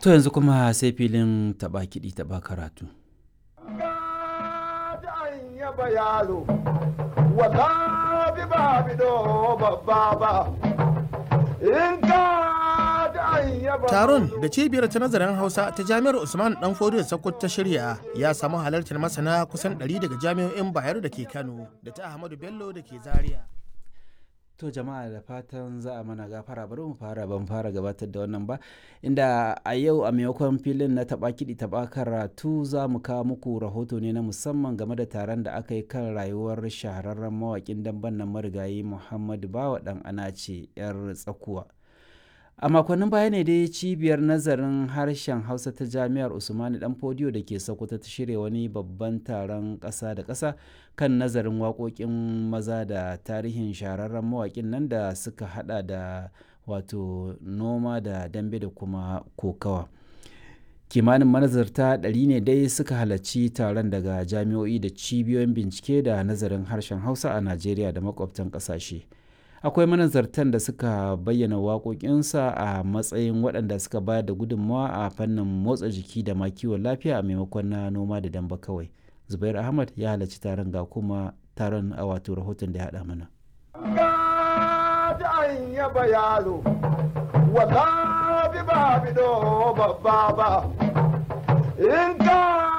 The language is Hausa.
To yanzu kuma sai filin taɓa kiɗi taɓa karatu. Yaba yaro, wala bi ba bido babba ba, in ka Taron da cibiyar ta nazarin Hausa ta Jami'ar Usman Dan Fodiyo Sokoto ta shirya ya samu halartar masana kusan 100 daga jami'o'in Bayero da ke Kano da ta Ahmadu Bello da ke Zaria. To jama'a, da fatan za a mana gafara, bari mu fara, ban fara gabatar da wannan ba, inda a yau a maimakon filin na taɓa kiɗi taɓa karatu za mu kawo muku rahoto ne na musamman game da taron da aka yi kan rayuwar shahararren mawaƙin damben nan marigayi Muhammadu Bawa ɗan Anace 'yar tsakuwa. A makonnin baya ne dai cibiyar nazarin harshen Hausa ta Jami'ar Usmanu Dan Fodiyo da ke Sokoto ta shirya wani babban taron ƙasa da ƙasa kan nazarin waƙoƙin maza da tarihin shahararren mawaƙin nan da suka hada da wato noma da dambe da kuma kokawa. Kimanin manazarta 100 ne dai suka halarci taron daga jami'o'i da cibiyoyin bincike da nazarin harshen Hausa a Najeriya da makwabtan ƙasashe. Akwai manazartan da suka bayyana waƙoƙinsa a matsayin waɗanda suka bayar da gudunmawa a fannin motsa jiki da ma kiwon lafiya a maimakon na noma da damba kawai. Zubair Ahmad ya halarci taron, ga kuma taron a wato rahoton da ya haɗa mana. Yaba yaro, wala bi ba bido babba ba, in ka